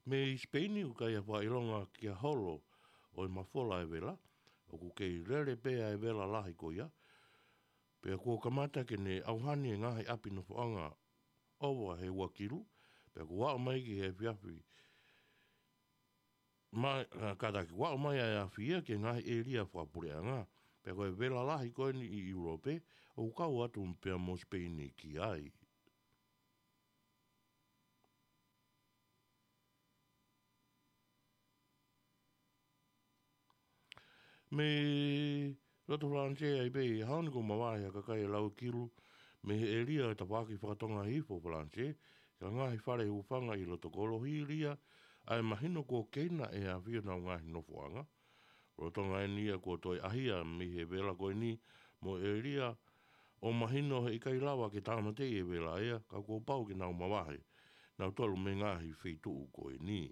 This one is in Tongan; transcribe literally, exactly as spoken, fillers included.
Mei Sipeini ʻoku ʻikai ha fakaʻilonga ki ha holo ʻo e mafola e vela, ʻoku kei lele pē ʻa e vela lahi ko ia, pea kuo kamata ke ne ʻauhani e ngaahi ʻapi nofoʻanga ʻova he ua kilu, pea kuo aʻu mai ki he efiafi, ma, a, kātaki kuo aʻu mai ʻa e afi ia ki he ngaahi ʻēlia fakapuleʻanga, pea ko e vela lahi ko eni ʻi ʻIulope, ʻoku kau atu pea mo Sipeini ki ai. Mei loto Falanisē ai pē ʻi he ʻaho ni kuo mavahe ha kakai ʻe lau kilu mei he ʻēlia ʻo e tafaʻaki fakatonga hifo Falanisē, ki he ngaahi fale hūfanga ʻi loto kolo hili ia ʻa e mahino kuo keina ʻe he afi honau ngaahi nofoʻanga. Lolotonga eni ia kuo toe ʻaʻahi mei he vela ko eni mo e ʻēlia ʻo mahino he ʻikai lava ke tāmateʻi e vela ia, ka kuo pau ke nau mavahe nautolu mei he ngaahi feituʻu ko eni.